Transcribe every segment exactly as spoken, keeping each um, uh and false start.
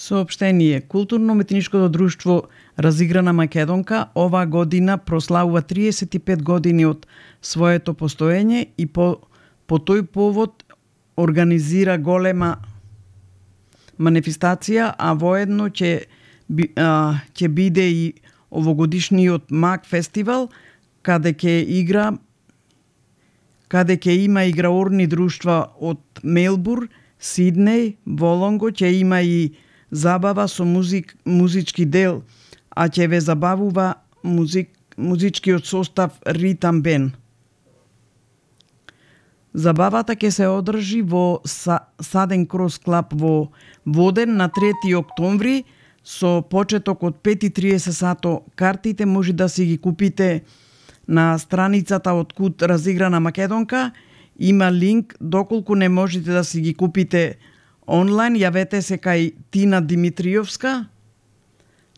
Соопштение. Културно-уметничкото друштво Разиграна Македонка оваа година прославува триесет и пет години од своето постоење и по, по тој повод организира голема манифестација, а воедно ќе ќе биде и овогодишниот Мак фестивал, каде ќе игра каде ќе има играорни друштва од Мелбур, Сиднеј, Волонго, ќе има и забава со музик, музички дел, а ќе ве забавува музик, музичкиот состав Ритам Бен. Забавата ќе се одржи во Саден Крос Клаб во Воден на трети октомври со почеток од пет и триесет сато. Картите може да си ги купите на страницата од Кут Разиграна Македонка. Има линк, доколку не можете да си ги купите онлайн, јавете се кај Тина Димитриевска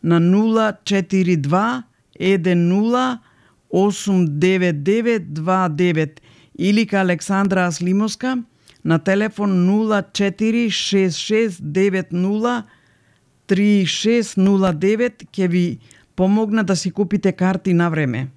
на нула четири два еден нула осум девет девет два девет или кај Александра Аслимовска на телефон нула четири шест шест девет нула три шест нула девет, ќе ви помогна да си купите карти на време.